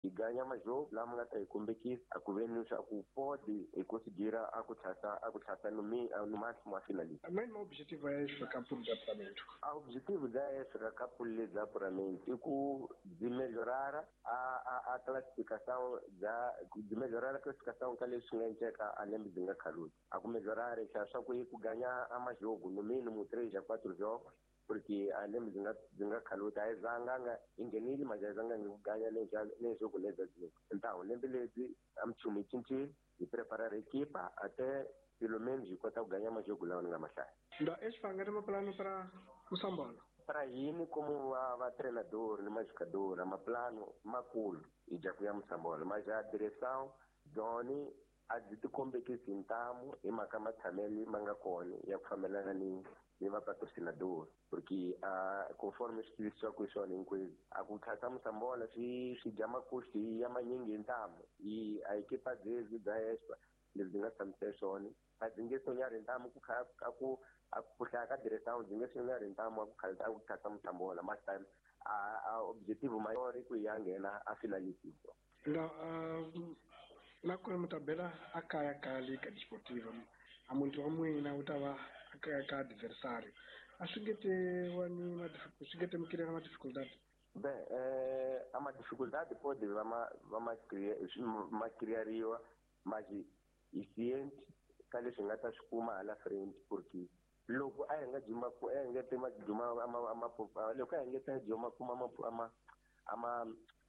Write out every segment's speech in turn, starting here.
Hi ganha majogo lama nga ta hi kombekisa a ku ve ni swa ku pode hi conseguir a ku tlhasa a ku tlhasa no no máximo a finalista. Main objetivo é esse campo de apuramento. A objetivo da esse campo de apuramento é ku de melhorar a classificação da de melhorar a classificação ka leswi nga endleka a lembe byi nga khaluti. A ku melhorar xa swa ku yi ku ganha a majogo no mínimo 3 a 4 jogos porque a lembe byi nga khaluti a yi zanga nga yi nghenile manje a yi zanga ngi ku ganha ne jogo lebyi então lembe lebyi a minchumu yi cincile hi preparar equipa até pelo menos hi kota ku ganhar majogo lawa ni nga mahlaya. Então, este vai ganhar plano para Moçambola. Para hini como va treinador ni majogador a maplano makulu hi dya ku ya Moçambola, mas a direção byoni a byi ti kombekisi ntamu hi mhaka matshamelo ma nga kona ya ku fambelana ni vapatrocinador, porque conforme swi tivisiwaka hi swona hinkwenu a ku tlhasa Moçambola swi dya makusti ya manyingi hi ntamu hi a ekipa byebyi bya Espa leswi byi nga tshamisa swona a byi nge sonyari ntamu ku kha a ku a ku hlaya ka direção byi nge sonyari ntamu a ku kha a ku tlhasa Moçambola, mas time a objetivo maior i ku ya nghena a finalista. Então, na ku tabela a kaya ka Liga Desportiva a muntu wa n'wina wu ta va a kaya ka adversário a swi nge te wa ni swi nge te mi na ma-dificuldade? Bem, a uma dificuldade pode va criariwa, mas hi ciente ka leswi hi nga ta swi kuma hala frente, porque loko a hi nga juma a hi nga te ma ama loko a hi nga ta juma kuma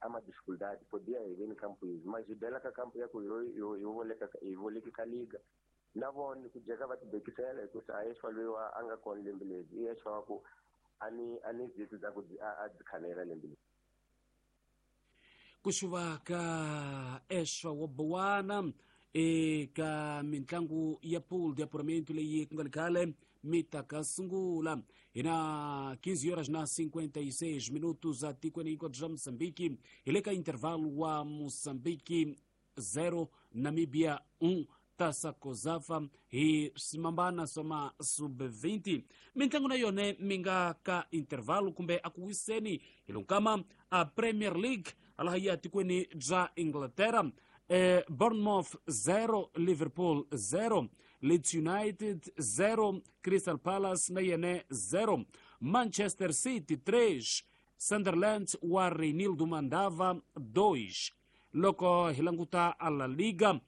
ama dificuldade podia hi veni campo izvi, mas hi bela ka campo ya ku hi voleka hi voleki ka liga na vona ku jeka va tibekisela hikusa a Eswa loyi wa a nga kona lembe lebyi i Eswa wa ku a ni zitu za ku a byi khanela lembe leri. Ku xuva ka Eswa wa Bowana eka mitlangu ya pool de apuramento leyi ku nga ri khale mi ta ka sungula. Hi na 15 horas na 56 minutos a tikweni hinkwabyo bya Moçambique. Hi le ka intervalo wa Moçambique 0 Namibia 1 Taça Cosafa hi swimambana swa ma sub-20. Mitlangu na yona mi nga ka intervalo kumbe a ku wiseni hi lonkama a Premier League alaha ya tikweni bya Inglaterra, Bournemouth 0 Liverpool 0, Leeds United 0 Crystal Palace na yene 0, Manchester City 3 Sunderland wa Reinildo Mandava 2. Loko hi languta a La Liga,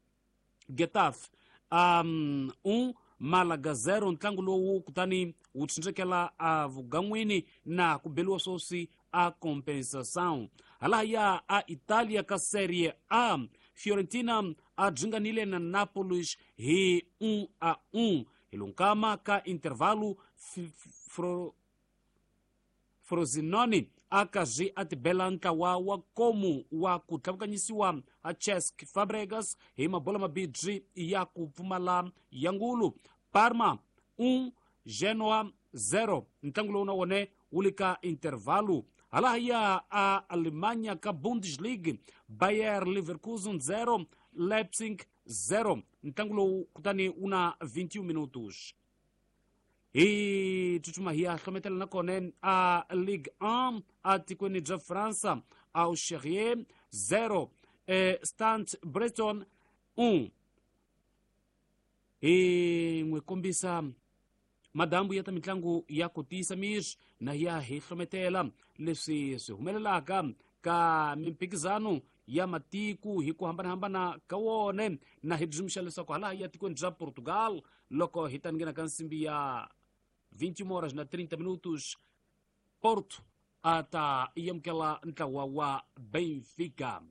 Getafe 1 Malaga 0, ntlangu lowu kutani wu tsindzekela a vugan'wini na ku beliwa swoswi a compensação. Halahaya a Italia ka Serie A, Fiorentina a dzinganile na Napolis hi 1-1 hi lunkama ka intervalo. Frosinone a karhi a tibela ntlawa wa komu wa ku tlhavukanyisiwa a Cesc Fabregas hi mabola mabibyi ya ku pfumala ya ngulu. Parma 1 Genoa 0, ntlangu lowu na wone wu le ka intervalo. Halahaya a Alemanha ka Bundesliga, Bayer Leverkusen 0 Leipzig 0, ntlangu lowu kutani wu na 21 minutos. Hi tsutsuma hi ya hlometela na kona a Ligue 1 a tikweni bya Fransa, Auxerre 0 Stade Breton 1. Hi n'wi kombisa madambu ya ta mitlangu ya ku tiyisa miri na ya hi hlometela leswi swi humelelaka ka mimphikizano ya matiku hi ku hambanahambana ka wone, na hi dzumxa leswaku hala ya tikweni bya Portugal loko hi ta nghena ka nsimbi ya 21 horas na 30 minutos Porto a ta yamukela ntlawa wa Benfica.